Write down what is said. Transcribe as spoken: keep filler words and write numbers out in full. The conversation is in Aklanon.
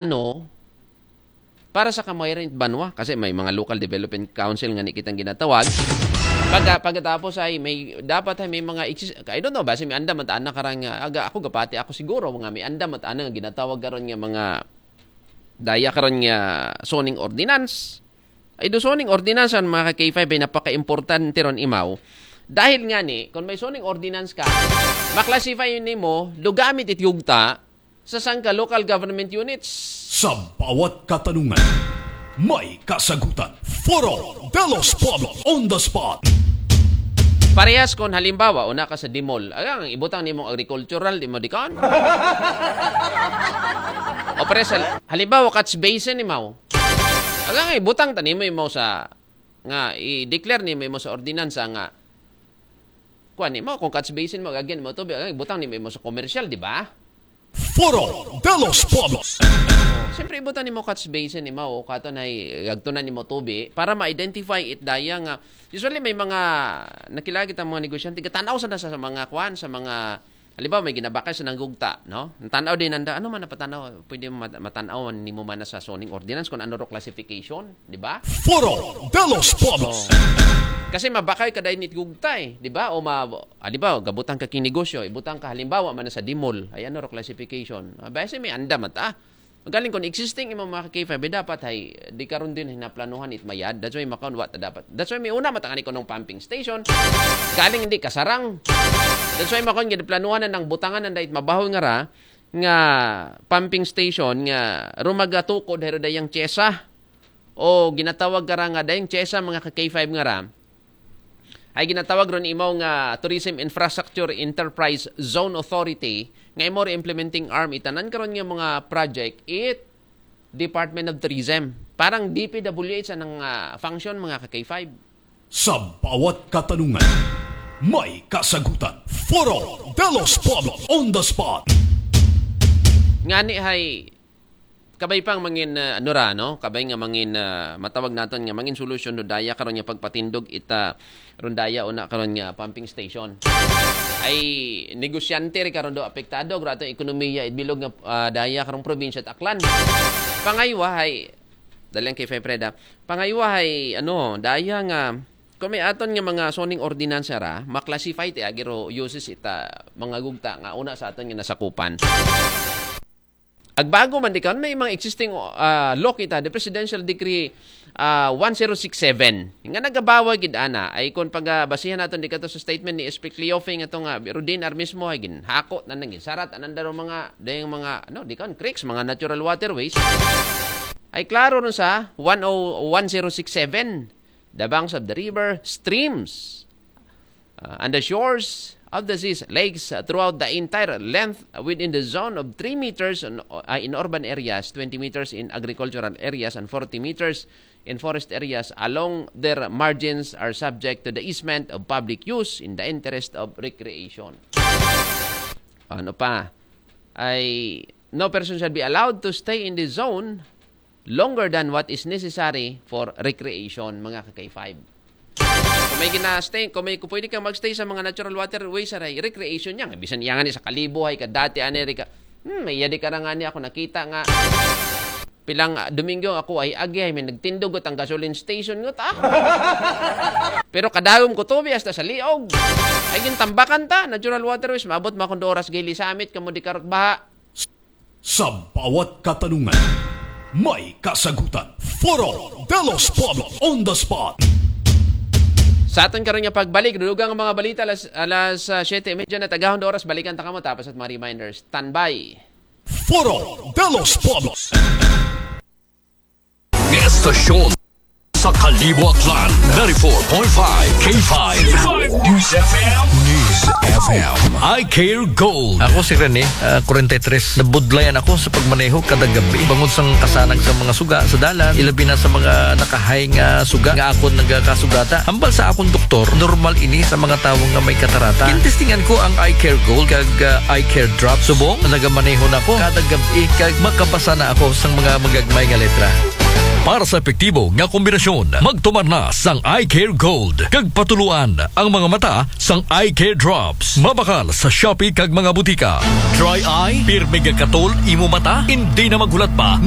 ano, para sa kamaayoran it banwa, kasi may mga local development council ngani kitang ginatawag. Pagka, pagkatapos ay may, dapat ay may mga exis-, I don't know, basi may andam man ta ana karon nga, aga, ako gapati ako siguro, nga may andam man ta ana nga ginatawag karon nga mga, daya karon nga zoning ordinance. Ay, do zoning ordinance an mga ka-K five ay napaka-importante ron, imaw. Dahil ngani, kung may zoning ordinance ka, ma-classify nimo do gamit it yugta sa sangka local government units. Sa bawat katanungan, may kasagutan. Foro de los Pueblos on the spot. Parehas kon halimbawa, una ka sa DMOL. Agang ibutang nimo agricultural, di mo dikon? O parehas, hal-, halimbawa, catch basin, imaw. Agang ibutang ta nimo, imaw, sa, nga i-declare nimo, imaw, sa ordinansa nga, kuan nimo, kung catch basin mo, agagyan mo tubig, agang ibutang nimo, imaw, sa commercial, di ba? Foro de los Pueblos. Siyempre, ibutang nimo catch basin, imaw, o kato na i-, agtunan nimo tubig para ma-identify it daya nga, usually may mga, nakilala kita mga negosyante, gatan-aw sa na sa mga kuan, sa mga, halimbawa, may ginabakal sa nanggugta, no? Tan-aw din nanda, ano man napatan-aw, pwede mat-, matan-aw nimo man na sa zoning ordinance kung ano ro classification, di ba? Foro de los Pueblos. Kasi mabakal ka dahil nit gugta eh, di ba? O ma-, halimbawa, gabutang ka king negosyo, ibutang ka halimbawa man na sa DMOL, ay ano ro classification. Ah, basi may andam man ta. Galing kon existing imo mga ka-K five, eh, dapat ay di karon din hinaplanuhan it mayad. That's why makaon wa ta dapat. That's why may una man ta ngani kunong pumping station. Galing hindi kasarang. That's why makaon gid planuhan na nang butangan na dahil mabaho nga ra nga pumping station nga rumagatukod hero dayang tiyesa. O ginatawag ka ra nga dayang tiyesa mga ka-K five nga ra. Ay ginatawag ron imaw nga Tourism Infrastructure Enterprise Zone Authority nga imo ri implementing arm itanan karon nga mga project it Department of Tourism. Parang D P W H anang, ah, function mga ka-K five. Sa bawat katanungan, may kasagutan. Foro de los Pueblos on the spot. Ngani hay, kabay pang mangin, ah, ano ra, no? Kabay nga mangin, ah, matawag naton nga mangin solusyon do daya karon nga pagpatindog ita ron daya una karon nga pumping station. Ay negosyante ri karon do apektado, gra atong ekonomiya, it bilog nga, ah, daya karong probinsya it Aklan. Pangaywa hay, dali ang kay Fefreda. Pangaywa hay, ano, daya nga, kung may aton nga mga zoning ordinansa ra, ma-classify ti agi ro uses ita mga gugta nga una sa aton nga nasakupan. Agbago man di karon, may mga existing, ah, law kita, the Presidential Decree, ah, one zero six seven. Nga nagabawal gid ana, ay kung pagabasihan naton di kato sa statement ni S P Cleofe nga to nga, Rodin Ar mismo, ay ginhako na nang ginsarat, ananda ro mga, dayang mga, ano, di karon creeks, mga natural waterways. Ay klaro ron sa one oh, one zero six seven, the banks of the river, streams, uh, and the shores of the seas, lakes, uh, throughout the entire length within the zone of three meters in, uh, in urban areas, twenty meters in agricultural areas, and forty meters in forest areas along their margins are subject to the easement of public use in the interest of recreation. Ano pa? Ay, no person shall be allowed to stay in the zone longer than what is necessary for recreation, mga ka-K five. Kung may gina-stay, kung may, kung pwede kang mag-stay sa mga natural waterways, aray, recreation niya. Bisan iya nga ni sa Kalibo, ay ka dati, ani, rika, hmm, may yadi ka ra nga ni ako nakita nga. Pilang, ah, Domingo, ako ay agi, ay may nagtindog at ang gasoline station ngot, ah. Pero kadagom ko tubi hasta sa liog. Ay, gintambakan ta, natural waterways, maabot ma kung oras gili samit, kamo di karot baha. Sa bawat katanungan, may kasagutan. Foro de los Pueblos on the spot. Sa aton karon nga pagbalik, dugang ang mga balita alas, alas, ah, siyete y media na tagahon do oras, balikan ta kamo tapos at mga reminders. Standby. Foro de los Pueblos. Estasyon sa Kalibo, Aklan, ninety-four point five K five News F M. News F M. I Care Gold. Ako si Rene, ah, forty-three. Nabudlayan ako sa pagmaneho kada gabi. Bangod sang kasanag sa mga suga sa dalan, ilabi na sa mga nakahay nga suga nga akon nagakasugata. Hambal sa akon doktor, normal ini sa mga tawo nga may katarata. Gintestingan ko ang Eye Care Gold kag, ah, Eye Care Drop. Subong, nagamaneho na ko kada gab-i kag makabasa na ako sang mga magagmay nga letra. Para sa epektibo nga kombinasyon, magtumar na sang Eye Care Gold kag patuluan ang mga mata sang Eye Care Drops. Mabakal sa Shopee kag mga butika. Dry eye, pirmi gakatol imo mata, hindi na maghulat pa na